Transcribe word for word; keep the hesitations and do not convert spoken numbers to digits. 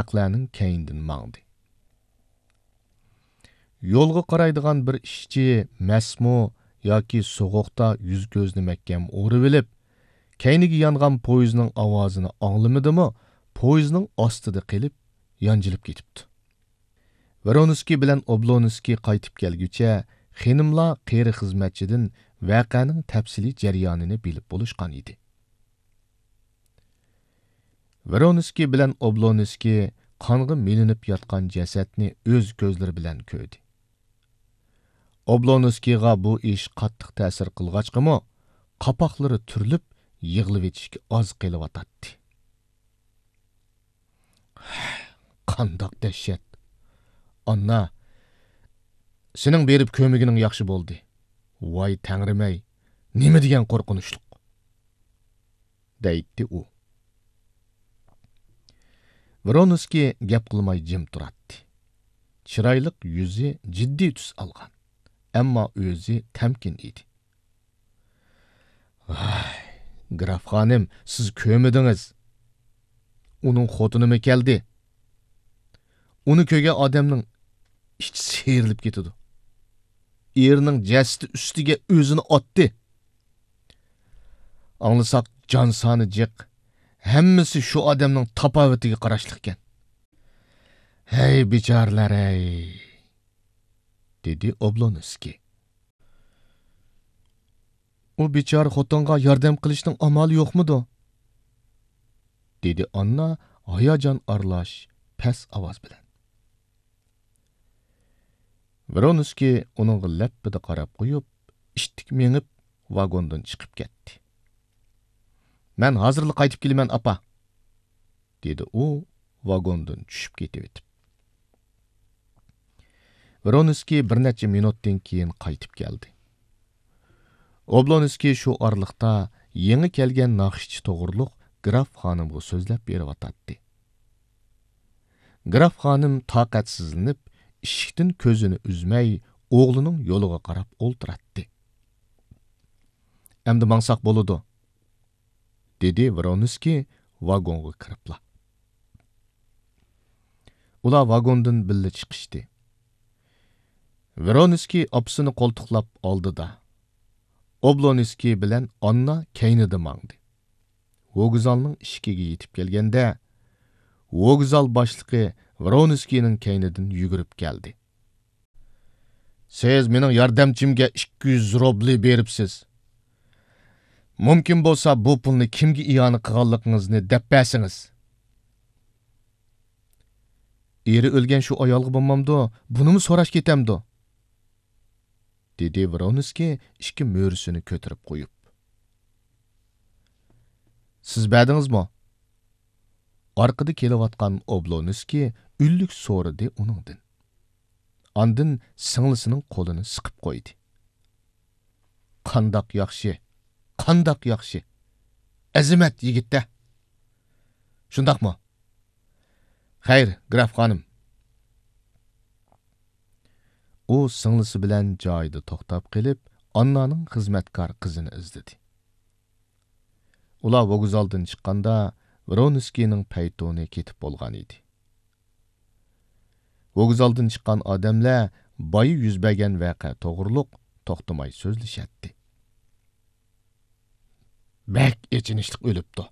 ئەخلاقلارنىڭ كەينىدىن ماڭدى. يولغا قارايدىغان بىر ئىشچى مەسمۇ ياكى سوغۇقتا يۈز-كۆزىنى مەھكەم ئورىۋېلىپ، كەينىگە يانغان پويىزنىڭ ئاۋازىنى ئاڭلىمىدىمۇ، پويىزنىڭ ئاستىدا قېلىپ، يانجىلىپ كېتىپتۇ. ۋرونسكىي بىلەن ئوبلونسكىي قايتىپ كەلگۈچە، خېنىملار قېرى خىزمەتچىدىن ۋەقەنىڭ تەپسىلىي جەريانىنى بىلىپ بولۇشقان ئىدى. ۋرونسكىي بىلەن ئوبلونسكىي قانغا مىلىنىپ ياتقان جەسەتنى ئۆز كۆزلىرى بىلەن كۆردى. ئوبلونسكىيغا بۇ ئىش قاتتىق تەسىر قىلغاچقىمۇ، قاپاقلىرى تۈرۈلۈپ، يىغلىۋېتىشكە ئاز قېلىۋاتاتتى. قانداق دەھشەت! ئاننا، سېنىڭ بېرىپ كۆرمىگىنىڭ ياخشى بولدى. ۋاي تەڭرىمەي، نېمە دېگەن قورقۇنچلۇق! دەيتتى ئۇ. ۋرونسكىي گەپ قىلماي جىم تۇراتتى. چىرايلىق يۈزى جىددىي تۈس ئالغان، ئەمما ئۆزى تەمكىن ئىدى. ۋاي، گراف خانىم، سىز كۆرمىدىڭىز. ئۇنىڭ خوتۇنىمۇ كەلدى. ئۇنى كۆرگەن ئادەمنىڭ ئىچى سىيرىلىپ كېتىدۇ. ئېرىنىڭ جەسىتى ئۈستىگە ئۆزىنى ئاتتى. ئاڭلىساق، جان سانى جىق. ھەممىسى شۇ ئادەمنىڭ تاپاۋىتىگە قاراشلىقكەن. ھەي، بىچارىلەر-ھەي! دېدى ئوبلونسكىي. ئۇ بىچارە خوتۇنغا ياردەم قىلىشنىڭ ئامالى يوقمىدۇ؟ دېدى ئاننا ھاياجان ئارىلاش پەس ئاۋاز بىلەن. ۋرونسكىي ئۇنىڭغا لەپپىدە قاراپ قويۇپ، ئىتتىك مېڭىپ، ۋاگوندىن چىقىپ كەتتى. مەن ھازىرلا قايتىپ كېلىمەن، ئاپا. دېدى ئۇ ۋاگوندىن چۈشۈپ كېتىۋېتىپ. ۋرونسكىي بىر نەچچە مىنۇتتىن كېيىن قايتىپ كەلدى. ئوبلونسكىي شۇ ئارىلىقتا يېڭى كەلگەن ناخشىچى توغرۇلۇق گراف خانىمغا سۆزلەپ بېرىۋاتاتتى. گراف خانىم تاقەتسىزلىنىپ، ئىشىكتىن كۆزىنى ئۈزمەي، ئوغلىنىڭ يولىغا قاراپ ئولتۇراتتى. ئەمدى ماڭساق بولىدۇ، دېدى ۋرونسكىي ۋاگونغا كىرىپلا. ئۇلار ۋاگوندىن بىللە چىقىشتى. ۋرونسكىي ئاپىسىنى قولتۇقلاپ ئالدىدا، ئوبلونسكىي بىلەن ئاننا كەينىدە ماڭدى. ۋوگزالنىڭ ئىشىكىگە يېتىپ كەلگەندە، ۋوگزال باشلىقى ۋرونسكىينىڭ كەينىدىن يۈگۈرۈپ كەلدى. سىز مېنىڭ ياردەمچىمگە ئىككى يۈز روبلى بېرىپسىز. مۇمكىن بولسا، بۇ پۇلنى كىمگە ئىئانە قىلغانلىقىڭىزنى دەپ بەرسىڭىز. ئېرى ئۆلگەن شۇ ئايالغا بولمامدۇ، بۇنىمۇ سوراش كېتەمدۇ؟ دېدى ۋرونسكىي ئىككى مۈرىسىنى كۆتۈرۈپ قويۇپ. سىز بەردىڭىزمۇ؟ ئارقىدا كېلىۋاتقان ئوبلونسكىي ئۈنلۈك سورىدى ئۇنىڭدىن. ئاندىن سىڭلىسىنىڭ قولىنى سىقىپ قويدى. قانداق ياخشى، قانداق ياخشى! ئەزىمەت يىگىت-دە! شۇنداقمۇ؟ خەير، گراف خانىم. ئۇ سىڭلىسى بىلەن جايىدا توختاپ قېلىپ، ئاننانىڭ خىزمەتكار قىزىنى ئىزدىدى. ئۇلار ۋوگزالدىن چىققاندا، ۋرونسكىينىڭ پەيتۇنى كېتىپ بولغان ئىدى. ۋوگزالدىن چىققان ئادەملەر بايا يۈز بەرگەن ۋەقە توغرۇلۇق توختىماي سۆزلىشەتتى. بەك ئېچىنىشلىق ئۆلۈپتۇ.